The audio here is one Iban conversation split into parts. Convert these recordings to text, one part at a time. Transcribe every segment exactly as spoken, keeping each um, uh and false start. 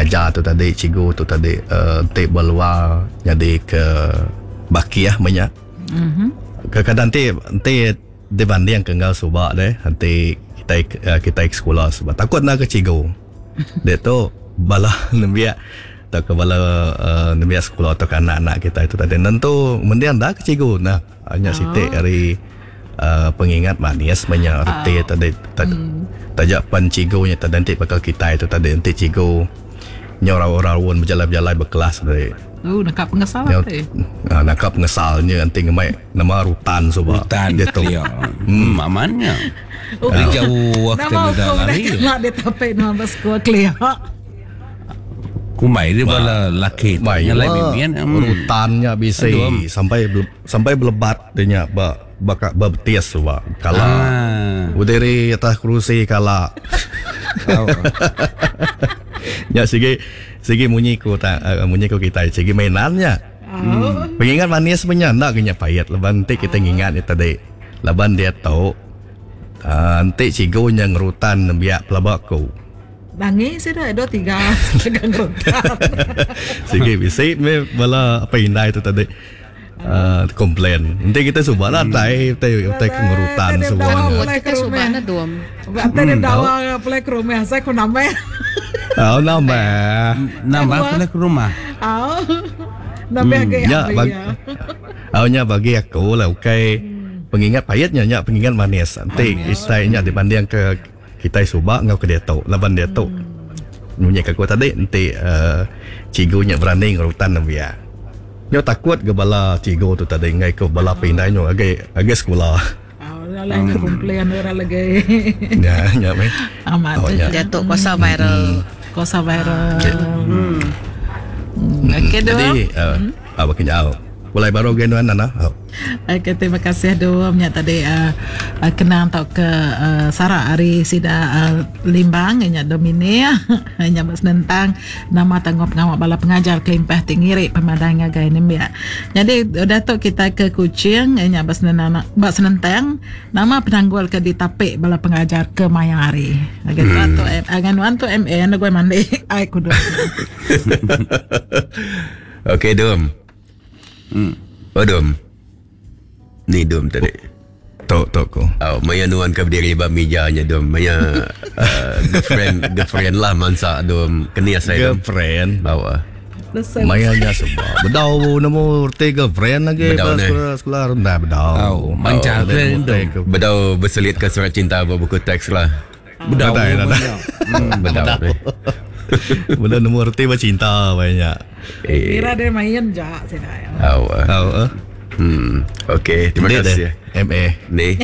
Pengajar tu tadi, cikgu tu tadi uh, enti berluar jadi ke bakiah banyak. Mm-hmm. Kadang-kadang enti enti dibanding ke enggau suba deh, enti kita uh, kita ke sekolah suba takut nak ke cikgu. Dia tu bala nembiak atau ke bala uh, nembiak sekolah atau ke anak-anak kita itu tadi nentu mendiang dah ke cikgu nah hanya sitik hari uh, pengingat manis banyak reti oh. Tadi mm. Tajak pan cikgunya tadi nanti bakal kita itu tadi nanti cikgu nyorau-raun berjalan-jalan berkelas tadi. Oh, nakap pengesal tadi. Ah, nakap pengesalnya nanti ngemai nama rutan suba. Rutan dia tu. Ya. Hmm, amannya. Oh. Jauh waktu dah lari. Nama dia tapek nama sekolah clear. Kumai dia bala laki. Yang lain mimian rutannya bisa sampai sampai belebat dia nya ba baka berbetis suba. Kala ah. Berdiri atas kerusi kala. Ya sigi sigi munyi ku tak uh, munyi ku kita sigi mainannya. Hmm. Pengingat manis punya ndak kena pahit laban nanti kita ngingat dia tadi. Laban dia tahu uh, nanti cikgu nya ngerutan nembiak pelabaku. Bangi sida dua tiga tegang rutan. Sigi bisi me bala apa indai tu tadi. Uh, komplain. Nanti kita suba lah tai tai tai ngerutan semuanya. Kita suba na dom. Berarti dia dawa play ke rumah saya ku nambah. Oh nambah. Nambah play ke rumah. Oh. Nambah ke ya bagi. Oh nya bagi aku lah okey. Pengingat pahitnya nya pengingat manis. Nanti isainya dibanding ke kita suba ngau ke dia tu. Laban dia tu. Munyi aku tadi nanti uh, cikgunya berani ngerutan nembiak. Nyo takut ke bala cikgu tu tadi ngai ke bala pindah nyo agi agi sekolah. Oh, lain ke komplain orang lagi. Ya, ya meh. Amat. Oh, ya. Jatuh kuasa viral. Kuasa viral. Hmm. Okey doh. Jadi uh, apa kenyau. Mulai baru genuan nana. Oh. Okey, terima kasih doh nya tadi uh, uh, kenang tau ke uh, Sarah ari sida uh, Limbang nya Domini nya senentang nama tanggung pengawal bala pengajar kelimpah ti ngiri pemadang ngagai nembiak. Jadi udah tu kita ke Kuching nya senentang bak senentang nama penanggul ke ditapik bala pengajar ke maya hari. Okey hmm. Tu agan wan tu M A gue mandi ai kudu. Okey dom. Hmm. Oh dom. Ni dom tadi. Tok tok ku. Oh, maya nuan ke berdiri ba mejanya dom. Maya uh, girlfriend girlfriend lah mansa dom. Kenia saya dom. Girlfriend. Bawa. Maya nya sebab. Bedau nemu reti girlfriend lagi ba sekolah sekolah rendah bedau. Oh, manca oh, dom. Bedau berselit ke surat cinta ba buku teks lah. Bedau. Bedau. Bedau nemu reti ba cinta banyak. Eh. Kira dia main jak sini. Oh. Oh. Hmm. Okey, terima Dek kasih. M A. Ni.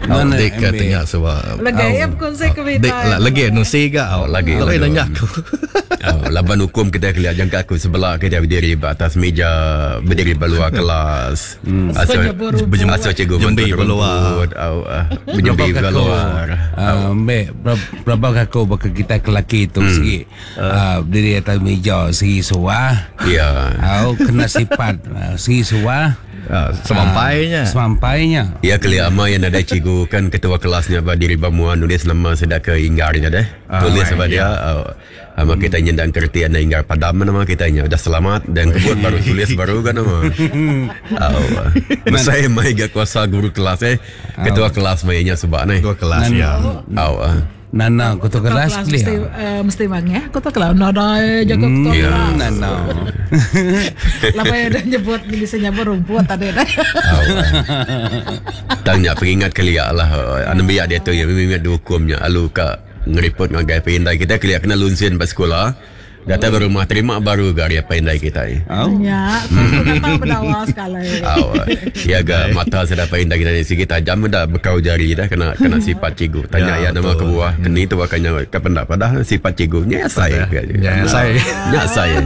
Mana dek ke tengah sebab. Lagi am konsep ke Dek lagi nusi ga. Oh, lagi. Lagi nanya aku. Oh, laban hukum kita kelihat jangka aku sebelah kita berdiri atas meja, berdiri luar kelas. Hmm. Asal asal cikgu jembi keluar. Berjembi keluar. Ah, mbek berapa aku baka kita kelaki tu segi. Ah, berdiri atas meja segi suah. Ya. Au kena sifat segi suah. Uh, semampainya. Uh, semampainya. Ya kali ama yang ada cikgu kan ketua kelasnya berdiri bamuan nulis nama sedak ke inggarnya deh. Ah, Tulis sebab ya. dia uh, ama kita nyendang kertian inggar padam nama kitanya udah selamat dan kebut baru tulis baru kan nama. Oh. Saya mai ga kuasa guru kelas eh. Ketua kelas mainnya sebab ni. Ketua kelas ya. Oh. Nana ketua kelas mesti uh, mesti bang ya ketua kelas nada jaga ketua yeah. kelas nana lama ya dah nyebut bisa nyebut rumput tadi dah. Tanya peringat kali lah anak biak dia tu yang memang dihukumnya alu ka ngeripot ngagai pindai kita kali kena lunsin pas sekolah. Datang oh. Rumah terima baru gari apa indai kita. Oh. Ya, aku kata berdawa sekali. Oh. Ya ga mata sudah apa indai kita ni sikit tajam dah bekau jari dah kena kena sifat cikgu. Tanya ya, ya nama kebuah keni tu akannya ke pendak padah sifat cikgu. Nya saya. Ya saya. Nya saya.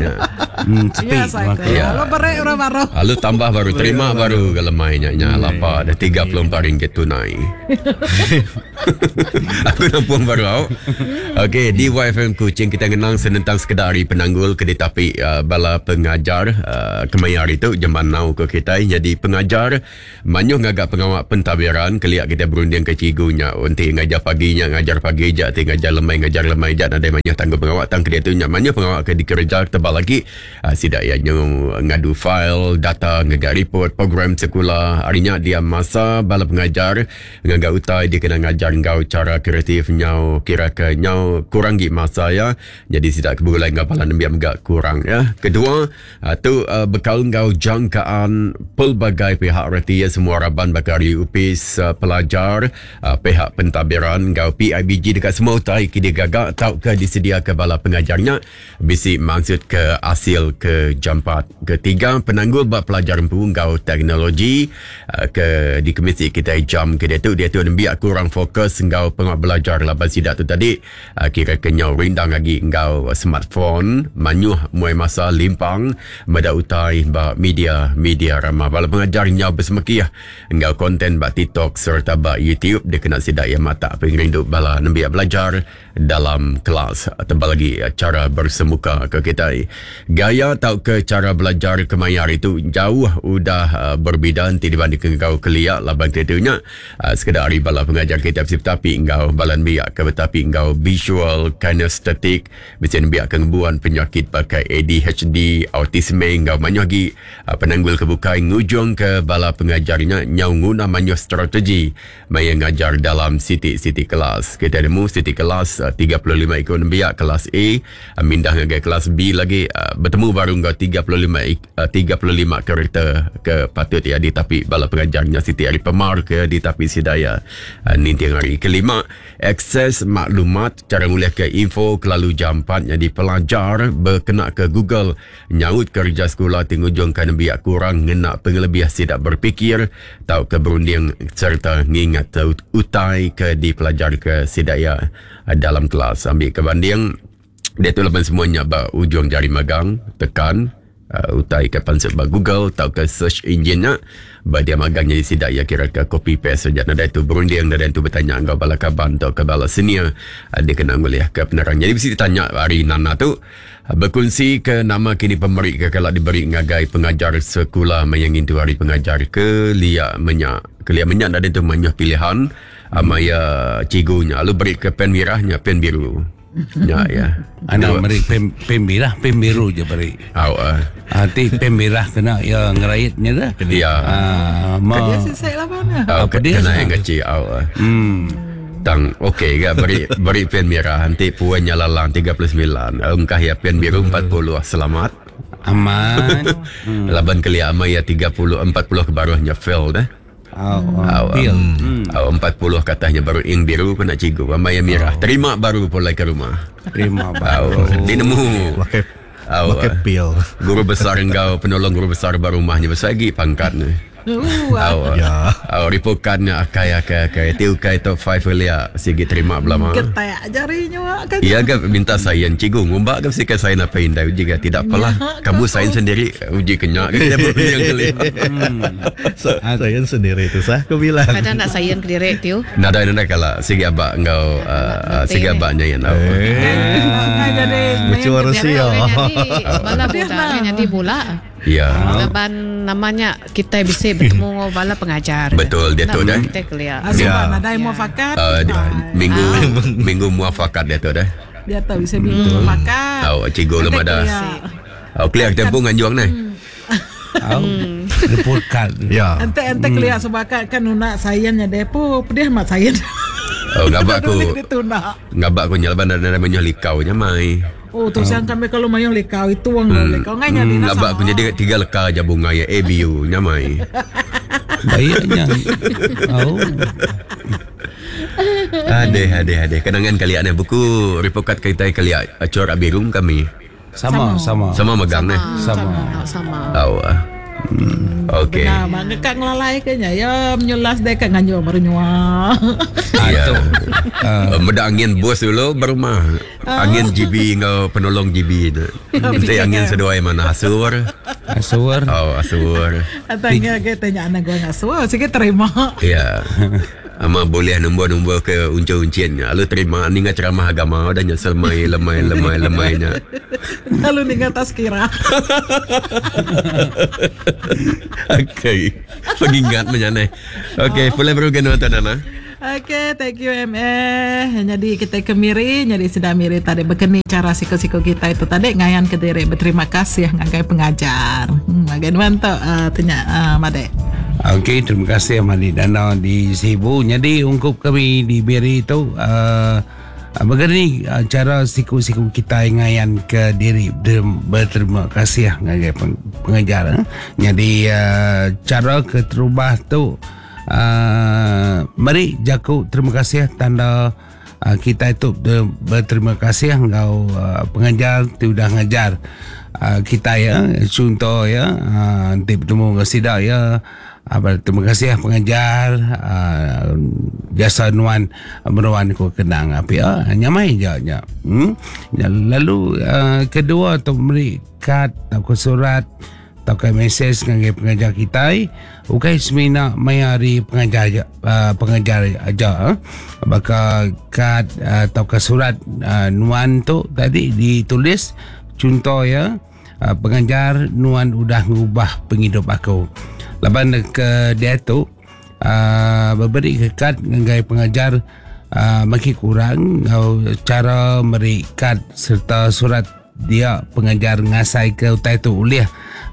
Hmm, sepi. Ya, saya. Ya. Lalu beri orang baru. Lalu tambah baru terima baru ke lemainya nya lapa ada tiga puluh empat ringgit tunai. Aku nampung baru au. Okey, di Y F M Kuching kita ngenang senentang sekedar hari penanggul ke ditapi uh, bala pengajar uh, kemaya hari tu jeman nau ke kita jadi pengajar manyuh ngagak pengawak pentadbiran keliak kita berunding ke cigunya unti ngajar paginya ngajar pagi jak ti ngajar lemai ngajar lemai jak nadai manyuh tangguh pengawak tang ke dia tu nya manyuh pengawak ke dikerja tebal lagi uh, sidak ya nyu ngadu file data ngagak report program sekolah harinya dia masa bala pengajar ngagak utai dia kena ngajar ngau cara kreatif nyau kira ke nyau kurang gi masa ya jadi sidak kebulai ngau bala nembiak megak kurang ya. Kedua uh, tu uh, bekal ngau jangkaan pelbagai pihak reti ya, semua raban bakal U P S uh, pelajar uh, pihak pentadbiran ngau P I B G dekat semua utai ki dia gagak tau ke disediakan bala pengajarnya bisi maksud ke hasil ke jampat. Ketiga penanggul bab pelajar empu ngau teknologi uh, ke di komisi kita jam ke dia tu dia tu nembiak kurang fokus ngau pengawak belajar laban sidak tu tadi uh, kira kenyau rindang lagi ngau smartphone manyuh muai masa limpang meda utai ba media media ramah bala pengajar nyau bersemekiah ngau konten ba TikTok serta ba YouTube dia kena sidak yang mata pengerindu bala nembiak belajar dalam kelas tebal lagi cara bersemuka ke kita gaya tau ke cara belajar kemayar itu jauh udah uh, berbeza nanti dibandingkan kau keliak laban ketunya uh, sekedar hari bala pengajar kita tapi ngau bala nembiak ke tapi ngau visual kinestetik bisa nembiak kengbuan penyakit pakai A D H D autisme ngau manyuh lagi uh, penanggul kebukai ngujung ke bala pengajarnya nyau nguna manyuh strategi maya ngajar dalam siti-siti kelas kita nemu siti kelas uh, tiga puluh lima ikut nembiak kelas A uh, mindah ngagai kelas B lagi uh, bertemu baru ngau tiga puluh lima uh, tiga puluh lima karakter ke patut ya ditapi bala pengajarnya siti hari pemar ke ditapi sidaya uh, ninting hari. Kelima, akses maklumat cara ngulih ke info kelalu jampat jadi pelajar berkena ke Google nyaut kerja sekolah tingujung ke nembiak kurang ngena pengelebih sidak berfikir tau ke berunding serta ngingat utai ke dipelajar ke sidaya dalam kelas. Ambil ke banding dia tu lapan semuanya ba ujung jari magang tekan uh, utai ke pansut ba Google atau ke search engine-nya ba dia magang jadi sidak ya kira ke copy paste saja nada itu berunding nada itu bertanya engkau bala kaban atau ke bala senior uh, dia kena ngulih ke penerang. Jadi mesti ditanya hari Nana tu uh, berkongsi ke nama kini pemeri ke kalau diberi ngagai pengajar sekolah mayang itu hari pengajar ke liak menyak ke liak menyak nada itu manyuh pilihan uh, maya cigunya lalu beri ke pen merahnya pen biru. Ya ya. Anak beri pen pen merah, pen biru je beri. Au ah. Nanti pen merah kena ya ngeraitnya dah. Ya. Ah, ma. Dia sisai lah mana. Apa dia? Kena yang kecil au. Hmm. Tang okey ke beri beri pen merah nanti puannya lalang tiga puluh sembilan. Engkah ya pen biru empat puluh. Selamat. Aman. Hmm. Laban kelia amai ya tiga puluh empat puluh ke baruhnya fail dah. Oh, oh, oh, empat puluh katanya baru ing biru kena cigu. Amai yang merah. Oh. Terima baru pulai ke rumah. Terima baru. Oh, dia nemu. Pakai oh, pakai pil. Guru besar engkau penolong guru besar baru rumahnya besar lagi pangkat ni. Uh, oh, ya. Oh, ripokannya akai akai akai. Tiu kai top five lia sigi terima belama. Ketak jarinya kan. Ya ke minta sayan cikgu ngumbak ke mesti ke sayan apa indah uji ke tidak apalah. Ya, kamu sayan sendiri uji kenyak ke dia berunding kali. So, sayan sendiri tu sah aku bilang. Kadang nak sayan ke direk tiu. Nada nada kala sigi abak engkau uh, sigi abaknya yang tahu. Lucu harus ya. Bala budak jadi bola. Ya. Laban namanya kita bisa bertemu dengan bala pengajar. Betul dia tu dah. Kita kelia. Ya. Ada muafakat. Uh, minggu minggu muafakat dia tu dah. Dia tahu bisa minggu muafakat. Tahu cikgu belum ada. Oh, clear tempoh nganjuang ni. Oh, report card. Ya. Ente ente clear sebakat kan nak sayangnya depo, pedih mak sayan. Oh, ngabak aku. Ngabak aku nyalaban dan ada menyuh likau nya mai. Oh, tu siang kami kalau mayong lekau itu wang hmm. lekau ngai nyadi hmm, ngabak aku jadi tiga leka aja bunga ya A B U nyamai. Baiknya. Oh. Ade ade ade kenangan kali ada buku report card kita kali corak biru kami. Sama sama. Sama megang ni. Sama sama. Tahu ah. Hmm. Okey. Benar, mak ngekak ngelalai ke nya. Ya menyulas deh kak nganjur baru nyua. Ya. Tu. Uh, Meda angin bos dulu baru mah. Angin G B ngau penolong G B tu. Nanti angin seduai mana asur. Asur. Oh, asur. Tanya ke tanya anak gua ngasur, sikit terima. Ya. Ama boleh nombor-nombor ke uncun-uncin. Lalu terima ni ngah ceramah agama dah nya selemai lemai lemai lemainya. Lalu ni atas kira. Okey. Pengingat menyane. Okey, boleh baru kena tuan Nana. Okey, thank you M A. Jadi kita ke Miri, jadi sudah Miri tadi berkeni cara siko-siko kita itu tadi ngayan ke diri berterima kasih ngagai pengajar. Hmm, bagian mantok uh, tanya uh, Madek. Okey, terima kasih Madi Dana di Sibu. Jadi ungkup kami di Miri itu uh, begini uh, cara siku-siku kita ngayan ke diri berterima kasih ngagai pengajar. Eh. Jadi uh, cara keterubah tu Uh, mari jaku terima kasih tanda uh, kita itu berterima kasih ngau uh, pengajar tu dah ngajar uh, kita ya, contoh ya, uh, nanti bertemu dengan sidak ya, uh, berterima kasih pengajar uh, jasa nuan meruan ku kenang apa ya, nyamai je nya. Hmm? Lalu uh, kedua tu meri kad atau surat atau ke mesej dengan pengajar kita, ukai semina mayari pengajar uh, pengajar aja, eh? Baka kad atau ke surat uh, nuan tu tadi ditulis contoh ya, uh, pengajar nuan udah ngubah penghidup aku. Laban ke dia tu uh, beri ke kad dengan pengajar uh, makin kurang ngau cara meri kad serta surat dia pengajar ngasai ke utai tu ulih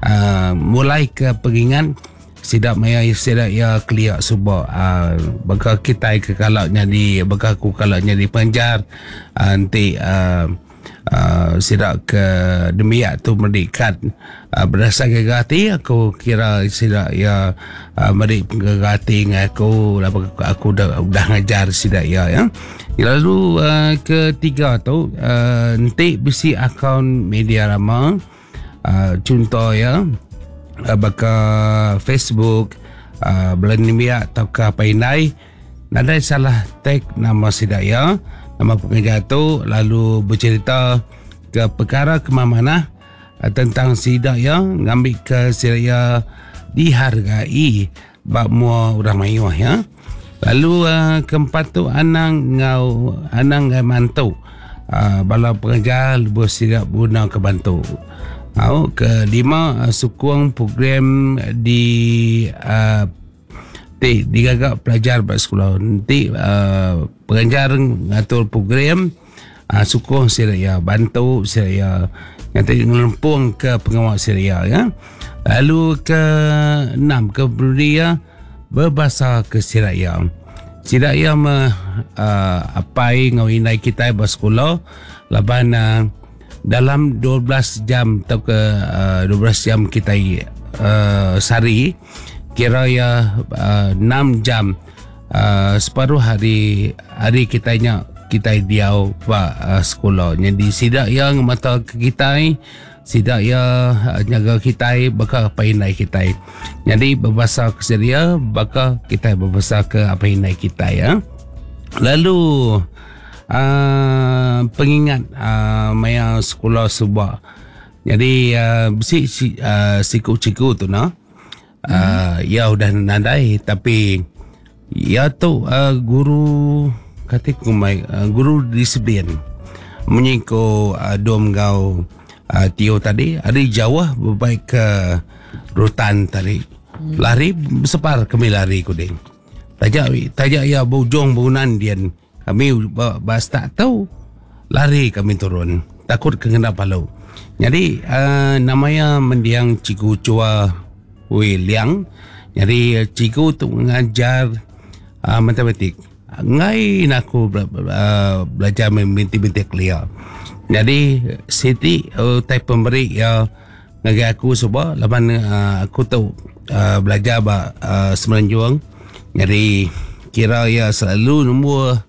uh, mulai ke pengingan sidak maya sidak ya keliak subak uh, baka kita ke kalau nyadi baka aku kalau nyadi pengajar uh, nanti uh, uh, sidak ke demiak tu merdikat uh, berdasarkan hati aku kira sidak ya uh, merik hati dengan aku aku dah dah ngajar sidak ya ya. Lalu uh, ketiga tu uh, nanti bisi akaun media rama uh, contoh ya uh, baka Facebook uh, belanimia atau ke apa indai nadai salah tag nama sidak ya, nama pengajar tu lalu bercerita ke perkara ke mana uh, tentang sidak ya, ngambil ke sidak ya dihargai bak mua orang mayuh ya. Lalu uh, keempat tu anang ngau anang ngai mantu uh, bala pengajar lebuh sidak guna ke bantu. Au kelima uh, sukung program di uh, ti digagak pelajar ba sekolah. Nanti uh, pengajar ngatur program uh, sukung sidak ya, bantu sidak ya, nanti ngelempung ke pengawal sidak ya, ya. Lalu ke enam ke belia berbahasa ke Siraya. Siraya me uh, apai ngau indai kita bersekolah laban uh, dalam dua belas jam atau ke uh, dua belas jam kita uh, sehari kira ya uh, enam jam uh, separuh hari hari kita nya kita diau ba uh, sekolah. Jadi sidak yang mata ke kita sidak ya jaga kita baka apa indai kita. Jadi berbahasa ke Syria baka kita berbahasa ke apa indai kita ya. Lalu uh, pengingat uh, maya sekolah subak. Jadi uh, besi si, uh, siku-siku tu nah. Uh, ya udah nadai tapi ya tu uh, guru kata ku mai uh, guru disiplin. Munyi ko uh, dom gau Uh, Tio tadi hari jauh berbaik ke rutan tadi. Hmm. Lari separ kami lari kuding. Tajak tajak ya bujung bangunan dian. Kami bas tak tahu lari kami turun. Takut kena palu. Jadi uh, namanya mendiang Cikgu Chua Wei Liang. Jadi cikgu tu mengajar uh, matematik. Ngai aku bela- uh, belajar binti-binti kelia. Jadi Siti uh, type pemberi ya ngagai aku sebab laban uh, aku tu uh, belajar ba uh, Semenanjung. Jadi kira ya selalu nombor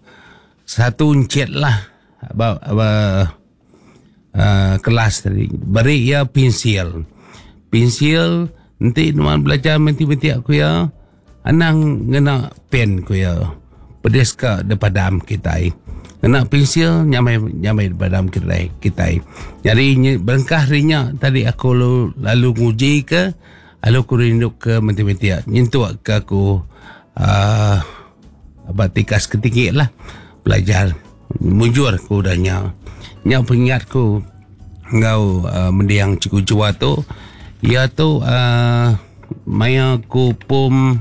satu encik lah ba, ba uh, kelas tadi. Beri ya pensil. Pensil Nanti nuan belajar matematik aku ya. Anang ngena pen ku ya. Pedis ka depadam kita. Ngena pensil nyamai nyamai depadam kita kita. Jadi berengkah rinya tadi aku lalu, lalu nguji ke lalu aku rindu ke matematik. Nyentuk ke aku uh, apa tikas ketinggi lah belajar. Mujur aku udahnya. Nya pengingat ku ngau uh, mendiang Cikgu Jua tu. Ia tu uh, maya ku pom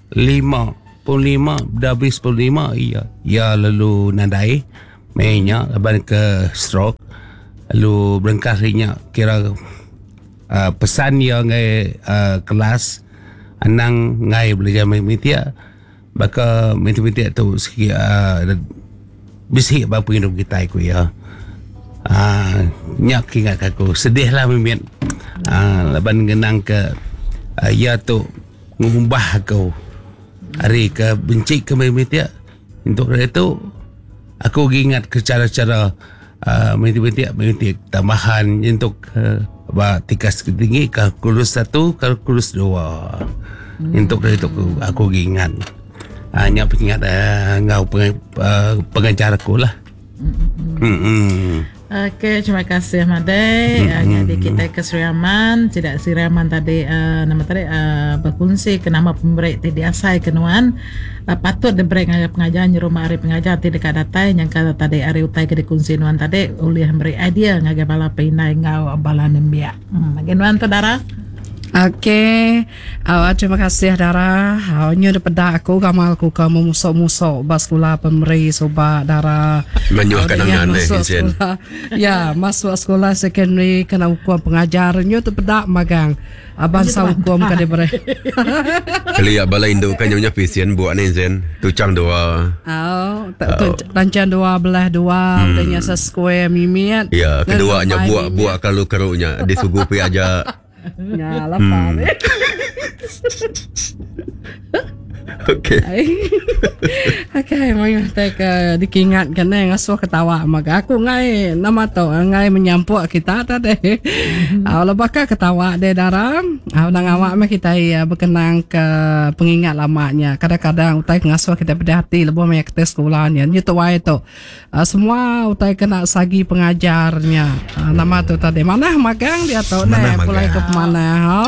lima, pom lima, dah habis pom lima, ia, ia lalu nadai mainnya laban ke stroke, lalu berengkah rinya kira uh, pesan ia ngai uh, kelas anang ngai belajar matematik, baka matematik tu sikit uh, bisik ba penghidup kita ku ya. Ah, nyak ingat aku sedih lah mimit. Ah, laban ngenang ke uh, ia tu ngubah aku hari ke benci ke matematik. Untuk itu aku ingat ke cara-cara uh, matematik matematik tambahan untuk uh, ba tikas tinggi kalkulus satu, kalkulus dua. Hmm. Untuk itu aku, aku ingat. Ah, nyak ingat uh, ngau peng, uh, pengajar aku lah. Hmm. Hmm. Okey, terima kasih Madai. Mm-hmm. Jadi kita ke Sri Aman, tidak Sri Aman tadi uh, nama tadi uh, berkongsi ke nama pemberi ti diasai kenuan. Uh, patut diberi ngagai pengajar nyerumah hari pengajar ti dekat datai yang kata tadi hari utai ke dikongsi nuan tadi oleh beri idea ngagai bala pinai ngau bala nembiak. Hmm, bagi nuan tu Dara. Okey, uh, terima kasih Dara. Uh, nyu daripada aku gamal aku ke memusok-musok bas sekolah pemeri soba Dara. Menyuah kenangan eh Izin. Ya, masuk sekolah secondary kena hukum pengajar nyu terpedak magang. Abang sa hukum ke diberi. Kali ya bala induk kan nyonya pisien buat ni Izin. Tucang dua. Oh, rancang dua belah dua, udahnya se square mimit. Ya, keduanya buat buat kalau keruknya disugupi aja. Ya, lapar. Hmm. Okey. Okey, mai tak dikingatkan eh ngasuh ketawa maka aku ngai nama tu ngai menyampuk kita tadi. Ah lebaka ketawa de daram. Ah nang awak meh kita ya berkenang ke pengingat lamanya. Kadang-kadang utai ngasuh kita pada hati lebuh meh kita sekolahnya. Nyu tuai tu. Semua utai kena sagi pengajarnya. Nama tu tadi mana magang dia tu ne pulai ke mana ha.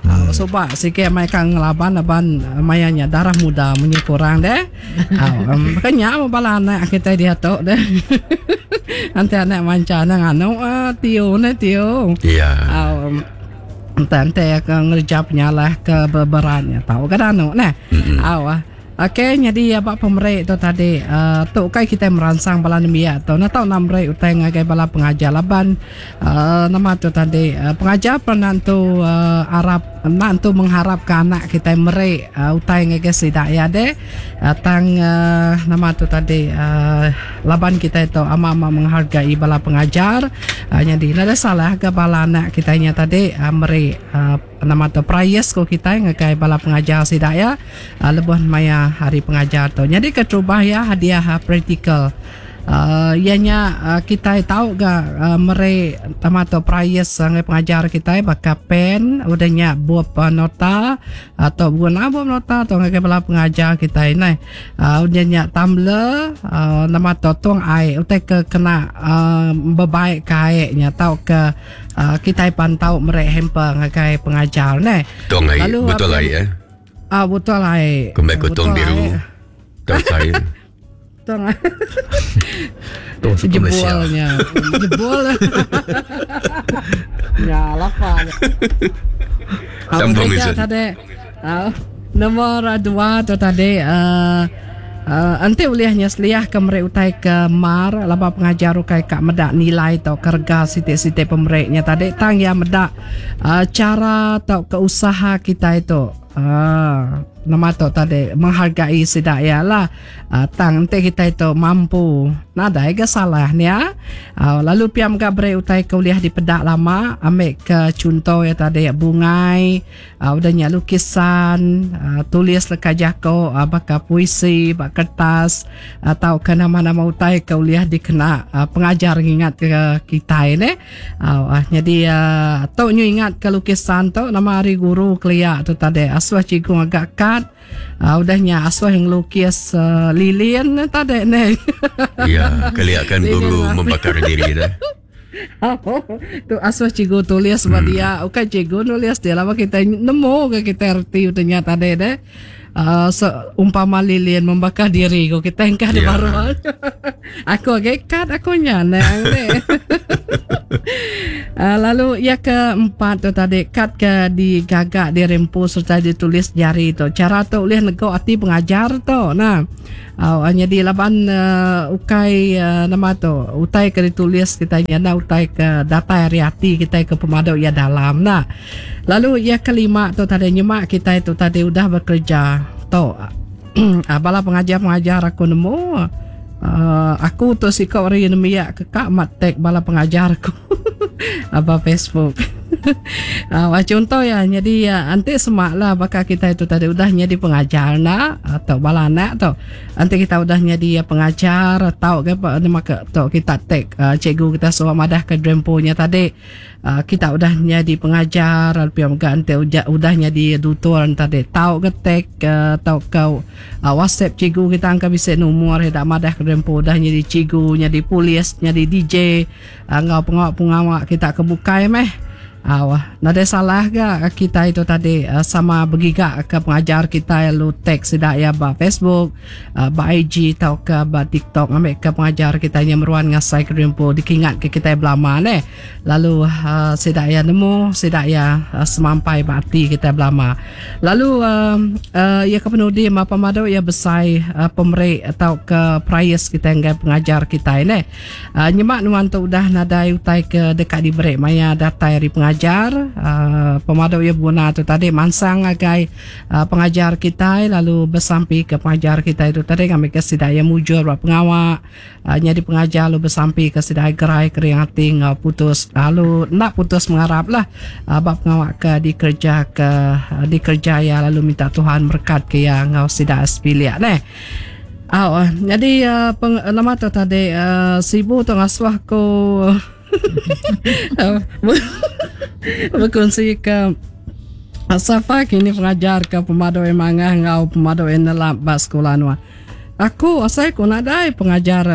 Hmm. Sebab sikit mereka ngelaban laban mayanya darah muda munyi kurang deh. Um, makanya bala anak kita dia tu deh. Nanti anak manca nang anu uh, tio ne tio. Ya. Um, nanti akan ngerja penyalah ke beberannya tahu kan anu neh. Aw. Okey, jadi abak pemerik tu tadi uh, tu kai kita merangsang bala nembiak tu. Nak tahu nak merik utai ngagai bala pengajar laban uh, nama tu tadi uh, pengajar pernah tu uh, Arab nak tu mengharap ke anak kita merik uh, utai ngagai sidak ya deh. Uh, tang uh, nama tu tadi uh, laban kita itu ama-ama menghargai bala pengajar. Uh, jadi nada salah ke bala anak kita nya tadi uh, merik uh, nama tu prize ko kita ngagai bala pengajar sidak ya. Uh, lebuh maya hari pengajar tu. Jadi keterubah ya hadiah praktikal. Uh, ianya uh, kita tahu ga uh, mere tamato prize sangai pengajar kita baka pen udahnya buat uh, nota atau guna buat nota atau ngagai bala pengajar kita ini. Uh, udahnya tumbler uh, nama tu tuang air utai ke kena uh, berbaik kaitnya tahu ke uh, kita pantau mere hamper ngagai pengajar ne. Tuang air betul air eh. Ah betul air. Kembali ke tuang biru. Tahu saya. Tuang air. Tuang suka Malaysia. Jebolnya. Jebol. Ya, lapar. Sambung itu. Tadi. Uh, nombor dua tu tadi uh, uh, enti ulihnya seliah ke merek utai ke mar laba pengajar ukai kak medak nilai atau kerga sitik-sitik pemereknya tadi tang ya medak uh, cara atau keusaha kita itu. Ah, nama tu tadi menghargai sidak ya lah. Ah, tang enti kita itu mampu Nadai ga salah nya. Uh, lalu piam ga beri utai ke uliah di pedak lama, ambil ke contoh ya tadi bungai, uh, udah nya lukisan, uh, tulis leka jako, uh, baka puisi, bak kertas, atau ke nama-nama utai ke uliah dikena uh, pengajar ngingat ke kita ne. Uh, uh, jadi uh, tok nyu ingat ke lukisan tok nama hari guru kelia tu tadi asuh cikgu agak kad. Uh, udahnya asuh yang lukis uh, lilin tadi ne. Ya, keliakan guru membakar diri dah. Tu asuh cikgu tulis buat hmm. dia. Bukan cikgu nulis dia lama kita nemu ke kita erti udahnya tadi deh. Uh, so, umpama lilin membakar diri ko kita engkau yeah. baru. Aku agak kad aku nya nang deh. Uh, lalu ia keempat tu tadi kad ke digagak dirempu serta ditulis jari tu. Cara tu boleh negok hati pengajar tu. Nah, uh, jadi laban uh, ukai uh, nama tu utai ke ditulis kita nya utai ke data hari hati kita ke pemaduk ia dalam. Nah, lalu ia kelima tu tadi nyemak kita itu tadi udah bekerja tu. Uh, bala pengajar-pengajar aku nemu uh, aku tu sikap hari nemiak kekak mat tag bala pengajar aku apa Facebook. Uh, contoh ya, jadi uh, nanti semaklah bakal kita itu tadi udah jadi pengajar nak atau bala anak tu. Nanti kita udah jadi pengajar atau ke apa nama ke tu kita tag uh, cikgu kita suruh madah ke dremponya tadi. Uh, kita udah jadi pengajar, lalu pihak nanti udah, udah jadi tutor tadi. Tahu ke tag uh, atau kau uh, WhatsApp cikgu kita angka bisa nomor dak madah ke drempo udah jadi cikgu, jadi polis, jadi D J, uh, ngau pengawak-pengawak kita kebukai meh. Awah, nada salah ke kita itu tadi uh, sama bergigak ke pengajar kita lu tag sedak ya ba Facebook, uh, ba I G atau ke ba TikTok ambil ke pengajar kita yang meruan ngasai ke rempo dikingat ke kita belama ne. Lalu uh, sedak ya nemu, sedak ya uh, semampai ba hati kita belama. Lalu uh, uh, ya ke penudi apa madu ya besai uh, pemeri atau ke prize kita yang pengajar kita ne. Uh, nyemak nuan tu udah nadai utai ke dekat diberi maya datai dari pengajar pengajar uh, pemadu ia guna tu tadi mansang agai uh, pengajar kita lalu bersampi ke pengajar kita itu tadi kami ke sidaya mujur buat pengawak uh, jadi pengajar lalu bersampi ke sidaya gerai kering hati ngau putus lalu nak putus mengharap lah uh, bab pengawak ke dikerja ke uh, dikerja ya lalu minta Tuhan berkat ke ya ngau sidaya sepiliak neh. Oh, jadi uh, peng, nama tu tadi uh, sibuk tu ngasuh aku berkongsi ke Safa kini pengajar ke pemadu yang mangah ngau pemadu yang nelap bas sekolah nuah. Aku asal ku nadai pengajar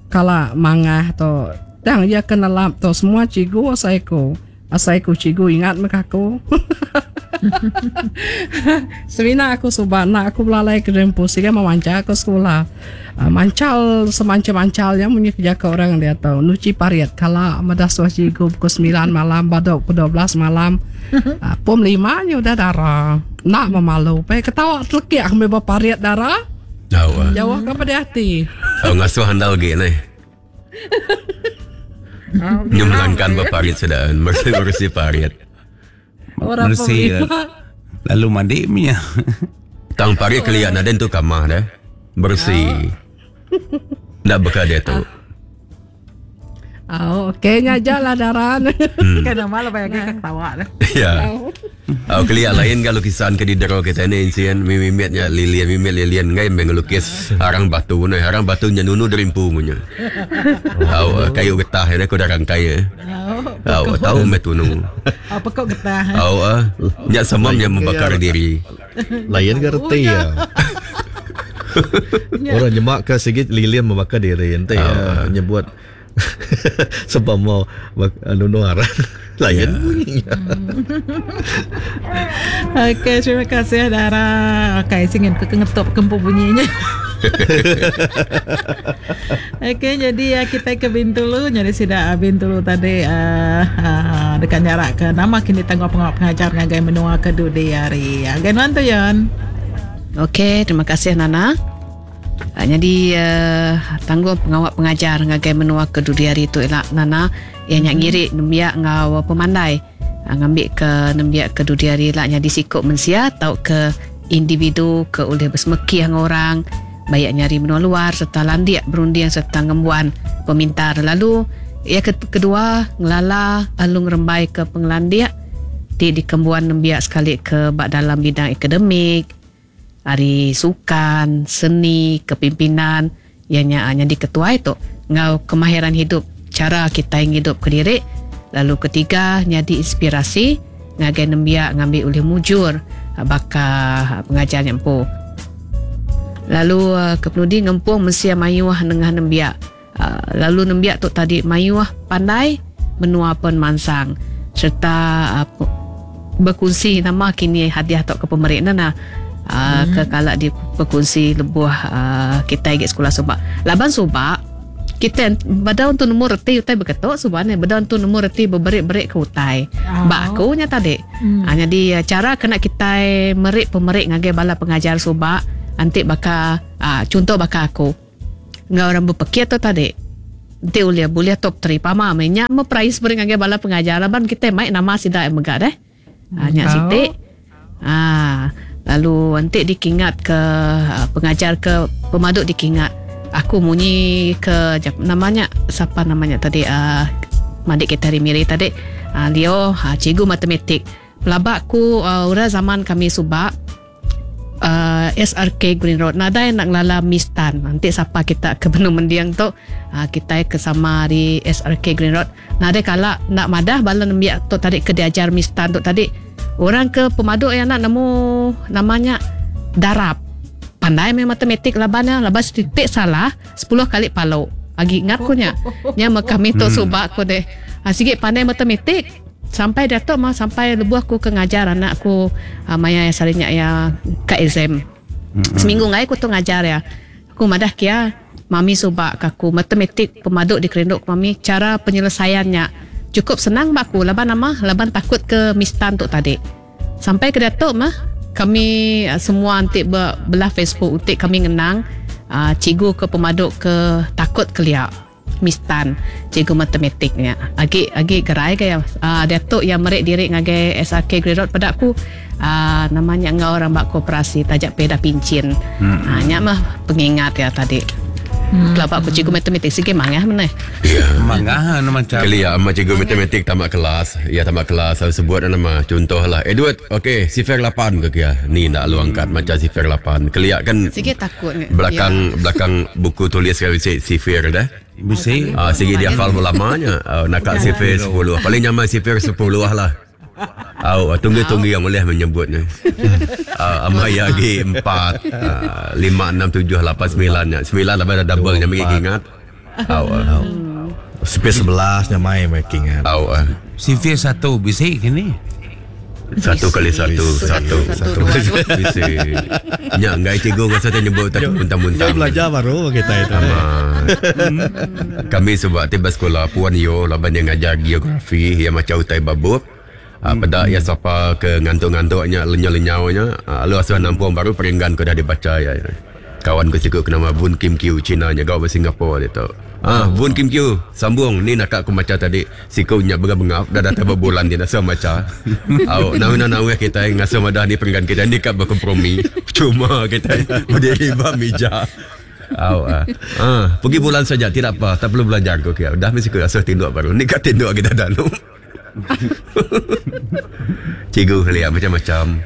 kala mangah tu tang ia kena lap tu semua cikgu asal ku. Asal ku cikgu ingat mek aku. Semina aku subak nak aku belalai ke rempu sehingga memanca aku sekolah. Uh, mancal semancal-mancalnya munyi kerja ke orang dia tahu. Nuci pariat kala madah suah cikgu pukul sembilan malam badok pukul dua belas malam. Uh, pom lima nya udah darah. Nak memalu. Pe ketawa telekik aku beba pariat darah. Jauh. Jauh kepada hati. Oh ngasuh handal ge ni. Nyemlangkan berparit sedaan, bersih-bersih parit. Orang bersih lalu mandi punya. Tang parit keliak naden tu kamah dah. Bersih. Ndak bekal dia tu. Oh, okey ngajarlah daran. Hmm. Kena malah banyak ketawa dah. Ya. Oh, keliak lain kalau lukisan ke di dero kita ni insien mimimitnya lilian mimit lilian ngai mengelukis arang batu ni arang batu nya nunu derimpu punya. Oh, kayu getah ni aku dah rangkai ya. Oh, tahu me tunu. Apa kok getah? Oh, ah. Nya sama nya membakar diri. Lain ke reti ya. Orang nyemak ke sikit lilian membakar diri ente ya nyebut sebab mau nunu arang lain bunyinya. Okey, terima kasih Dara. Okey, singin ke ngetup kempu bunyinya. Okey, jadi ya, kita ke Bintulu. Jadi sudah Bintulu tadi uh, uh, dekat jarak ke nama kini tangguh pengawal pengajar ngagai menua ke dudi hari. Agen mantu Yon. Okey, terima kasih Nana. Uh, jadi uh, tanggung pengawal pengajar ngagai menua ke dudi hari tu elak Nana yang nyak ngirik nembiak ngau pemandai uh, ngambil ke nembiak ke dudi hari elak jadi sikop mensia atau ke individu ke oleh bersemeki dengan orang Baik nyari menua luar serta landik berunding serta ngembuan pemintar. Lalu ia kedua ngelala alung rembai ke pengelandik ti dikembuan nembiak sekali ke bak dalam bidang akademik, ari sukan, seni, kepimpinan, ianya jadi ketua itu ngau kemahiran hidup, cara kita ngidup ke diri. Lalu ketiga jadi inspirasi ngagai nembiak ngambil oleh mujur baka pengajar nyempu. Lalu kepenudi ngempung mensia mayuh nengah nembiak. Lalu nembiak tu tadi mayuh pandai menua pen mansang serta berkongsi nama kini hadiah tok ke pemerik nana. Uh, hmm. Ke kalak di berkongsi lebuh uh, kita pergi sekolah subak. Laban subak kita bada untuk nemu reti utai berketuk subak ni, bada untuk nemu reti berberik-berik ke utai. Oh. Bak aku nya tadi. Hmm. Ha, jadi cara kena kita merik pemerik ngagai bala pengajar subak antik baka uh, contoh baka aku. Ngau orang berpekir tu tadi. Nanti boleh boleh top tiga pama nya me prize beri ngagai bala pengajar laban kita mai nama sida mega deh. Ha, nya sitik. Ah, lalu nanti dikingat ke pengajar ke pemaduk dikingat. Aku munyi ke namanya siapa namanya tadi uh, madik kita hari Miri tadi uh, Leo uh, cikgu matematik. Pelabak ku uh, ura zaman kami subak uh, S R K Green Road nadai nak ngelala Mistan. Nanti siapa kita ke Benung Mendiang tu uh, kita ke sama di S R K Green Road. Nadai kala nak madah bala nembiak tu tadi ke diajar Mistan tu tadi. Orang ke pemaduk yang nak nemu namanya darab. Pandai main matematik labannya, laban setitik salah sepuluh kali palu. Agi ingat ku nya. Nya me kami tu subak ku deh. Ha, sikit pandai matematik sampai datuk mah sampai lebuh aku ke ngajar anak aku uh, maya yang salinya ya ke exam. Mm-hmm. Seminggu ngai aku tu ngajar ya. Aku madah kia mami subak aku matematik pemaduk dikerinduk mami cara penyelesaiannya cukup senang baku laban nama laban takut ke mistan tu tadi. Sampai ke datuk mah kami semua antik belah Facebook untuk kami ngenang uh, cikgu ke pemaduk ke takut keliak mistan cikgu matematiknya. Agi agi gerai ke ya uh, datuk yang merik diri ngagai S R K Green Road pada aku uh, namanya ngau orang bak koperasi tajak peda pincin. Hmm. Uh, nya mah pengingat ya tadi. Hmm. Kelabak aku cikgu matematik sikit mangah mana? Ya. Mangah nama macam. Kali ya, ama cikgu matematik tamat kelas. Ya tamat kelas saya sebut nama contohlah. Edward, okey, sifir lapan ke kia. Ni nak lu angkat hmm. macam sifir lapan. Keliak kan sikit takut ni. Belakang ya. Belakang buku tulis kan sifir dah. Bisi. Ah sikit dia hafal lamanya. Uh, nak kat sifir sepuluh. Paling nyaman sifir sepuluh lah. Au, tunggu-tunggu yang boleh menyebutnya. Uh, ama ya lagi empat, uh, lima, enam, tujuh, lapan, sembilan. Sembilan lah dah double nya bagi ingat. Au. Uh. Sifir sebelas nya mai bagi ingat. Au. Uh. Sifir satu bisi kini. Satu kali satu, satu, satu. Bisi. Nya ngai cikgu rasa tak nyebut tak muntah-muntah. Belajar baru kita itu. Ama. Kami sebab tiba sekolah Puan Yo laban yang ngajar geografi yang macam utai babuk. Ha, pada ya siapa ke ngantuk-ngantuknya lenyau-lenyaunya ha, lalu asal nampung baru peringgan kau dah dibaca ya, ya. Kawan ku cikgu nama Boon Kim Kiu Cina nya gau Singapura dia tu. Ah Boon Kim Kiu sambung ni nak aku baca tadi siku nya bengap-bengap dah datang berbulan dia nak baca. Au nawi nawi kita ngasa madah ni peringgan kita ni kat berkompromi. Cuma kita berdiri ba meja. Au ah. Ah pergi bulan saja tidak apa tak perlu belajar kau kia. Dah mesti ku asal tinduk baru. Ni kat tinduk kita dah lu. Cikgu lihat macam-macam.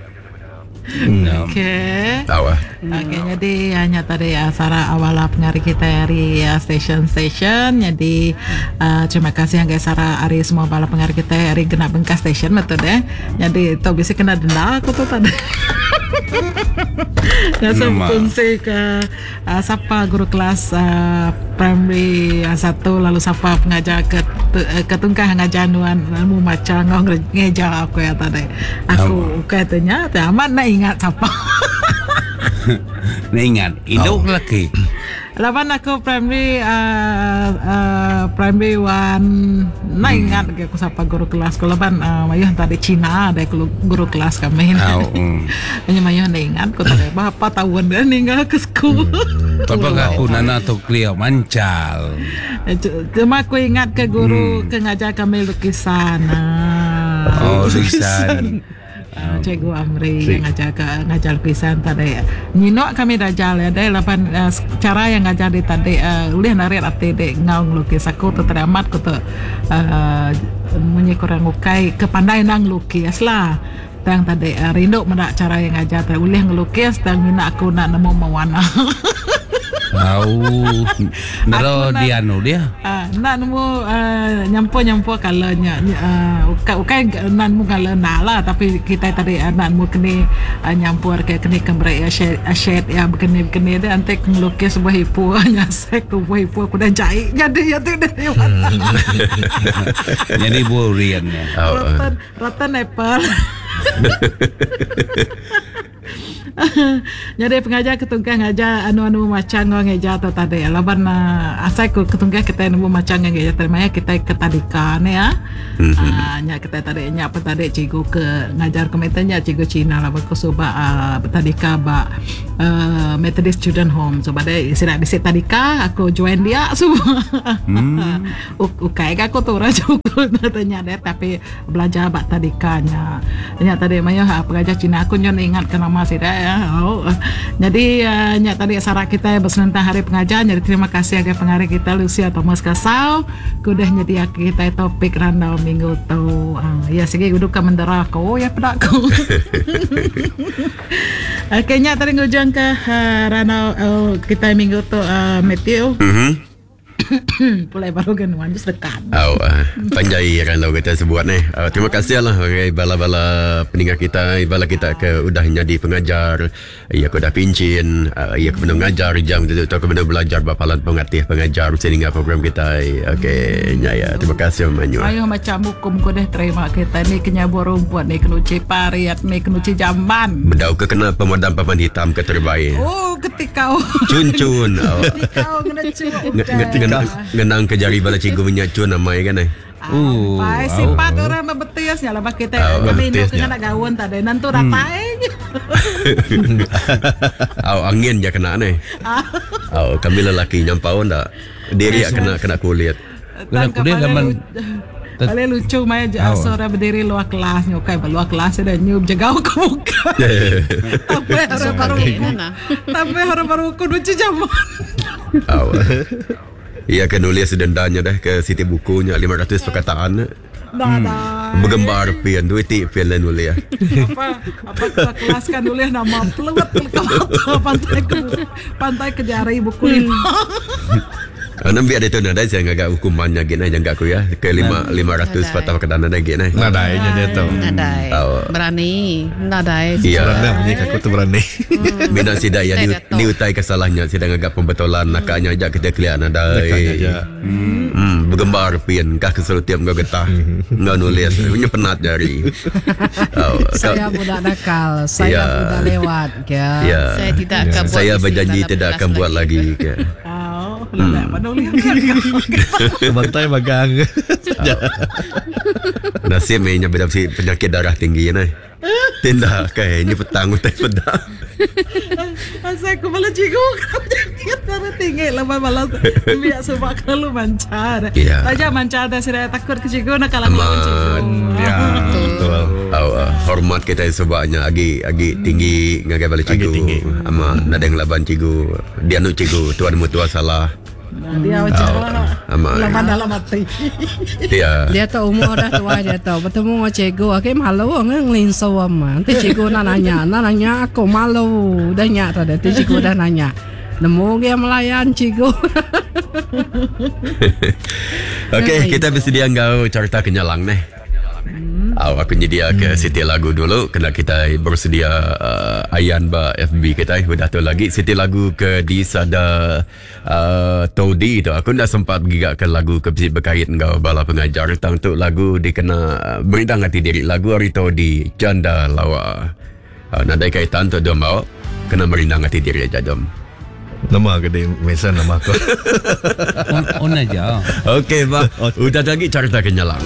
Hmm. Okey. Tahu ah. Okey, jadi hanya tadi uh, Sarah awal pengari kita dari uh, station-station. Jadi uh, terima kasih yang guys Sarah hari semua bala pengari kita hari genap bengkas station betul deh. Jadi tu bisa kena denda aku tu tadi. Nasa fungsi ke uh, siapa guru kelas uh, primary uh, satu lalu siapa pengajar ke ke tungkah ngajar nuan mu maca ngau ngejar aku ya tadi. Aku katanya amat nak ingat siapa. Nak ingat hidup oh. Lelaki. Lapan aku primary uh, uh, primary one nak hmm. ingat aku siapa guru kelas aku lapan uh, mayuh tadi Cina ada guru kelas kami. Oh, mm. Hanya mayuh nak ingat aku tadi berapa tahun dah ninggal ke school. Hmm. Tapi aku nana tu clear mancal. Cuma aku ingat ke guru hmm. ke ngajar kami lukisan. Oh lukisan. Uh, Cikgu Amri yang ngajar ke ngajar lukisan tadi. Nyinok kami dajal ya deh lapan uh, cara yang ngajar di tadi uh, ulih narik ati dek ngau ngelukis aku tu tadi amat ku tu uh, munyi kurang ukai kepandai nang lukis lah. Tang tadi uh, rindu medak cara yang ngajar tadi ulih ngelukis tang mina aku nak nemu mewarna. Au nero dia anu dia. Ah, nak nemu uh, nyampur-nyampur kalanya uh, ukai ukai nak nemu kala nak lah tapi kita tadi uh, nak nemu kini uh, nyampur ke kini kembre ya shade, shade ya begini-begini dia nanti ngelukis sebuah hipu nyasek tu buah hipu aku dah jahit jadi ya tu dah jadi buah urian ya. Rotan rotan apple. Jadi pengajar ketungkah ngajar anu-anu macam ngau ngeja tu tadi. Laban uh, asai ku ketungkah kita nemu macam ngeja tadi maya kita ke tadika ni ya. Mm-hmm. Uh, nya kita tadi nya apa tadi cikgu ke ngajar komentarnya cikgu Cina lah ku suba uh, tadika ba uh, Methodist Children Home. So pada sidak bisi tadika aku join dia semua. Mm. Ukai aku tu orang cukup tanya dia tapi belajar bak tadikanya. Nya tadi maya pengajar Cina aku nyon ingat ke nama sidak ya. Oh. Jadi uh, nyak tadi sarak kita bersenentang hari pengajar. Jadi terima kasih agai pengarah kita Lucia Thomas Kasau kudah nyedia kita topik randau minggu tu. Uh, ya segi duduk ke mendera aku ya pedak aku. Okey nyak tadi ngujung ke uh, randau uh, kita minggu tu uh, Matthew. Mhm. Pulai baru genuan just dekat. Oh, uh, panjai randau kita sebuat ni. Uh, terima kasih lah okay, bala-bala pendengar kita, bala kita ke udah jadi pengajar, ya ke udah pincin, uh, ya ke benar ngajar jam tu atau ke benar belajar bapalan pengatih pengajar sehingga program kita. Okey, nya ya. Terima kasih Manyu. Ayo macam hukum ku dah terima kita ni kenyabur rumput ni kenuci pariat ni kenuci jamban. Bedau ke kena pemadam papan hitam ke terbaik. Oh, ketika cun-cun. Ketika kena cun. Ngenang ke jari bala cikgu minyak cun namai kan eh. Oh, pai sifat orang bebetiasnya lah kita kami nak kena gaun tadi nanti ratai. Au angin je kena ni. Au kami lelaki nyampau ndak. Diri kena kena kulit. Kena kulit zaman paling lucu maya seorang berdiri luar kelas nyukai luar kelas ada nyub jagau ke muka. Tapi orang baru tapi orang baru kudu jaman. Au. Ia akan nulis dendanya dah ke siti bukunya lima ratus perkataan. Dah dah. Bergambar pian duit ti pian lain nulis. Apa apa ketua kelas kan nulis nama peluat ke pantai ke pantai ke jari buku lima. Enam biar itu nada saya agak hukumannya gini jangka aku ya ke lima lima ratus patah perkataan nada gini. Nada nya dia tu. Nada. Berani, nada. Iya. Berani aku tu berani. Bina sida ya ni ni utai kesalahnya sida agak pembetulan nakanya aja kita kelian nada. Hmm, bergambar pian kah keselutiap ngau getah. Ngau nulis punya penat jari. Saya budak nakal, saya budak lewat ya. Saya tidak akan buat. Saya berjanji tidak akan buat lagi. Hmm. Bantai bagang. Nasib ni beda penyakit darah tinggi ni. Tindak kai ni petang utai pedak. Asal aku malah cikgu penyakit darah tinggi lepas malas biar sebab kalau mancar. Taja mancar dah saya takut ke cikgu nak kalah lawan cikgu. Ya, betul. Oh, uh, hormat kita sebabnya agi agi tinggi ngagai balik cikgu. Ama nadeng laban cikgu. Dia nu cikgu tuan mutua salah. Nah, dia macam oh, lama dalam hati. Dia dia tu umur dah tua dia tu bertemu dengan cikgu okey malu ngelinso ama. Nanti cikgu nak nanya, nak nanya aku malu. Dah nyak tadi nanti cikgu dah nanya. Nemu dia melayan cikgu. Okey, kita bersedia ngau cerita kenyalang ni. Hmm. Oh, aku nyedia ke hmm. siti lagu dulu kena kita bersedia uh, ayan ba F B kita udah tu lagi siti lagu ke di sada uh, Todi tu aku dah sempat pergi ke lagu ke berkait dengan bala pengajar tentang tu lagu dikena uh, berindang hati diri lagu hari Todi Janda Lawa uh, nadai kaitan tu dia mau kena merindang hati diri aja dom. Nama ke dia mesan nama aku. On, on aja. Okey, bah. Udah lagi cerita kenyalang.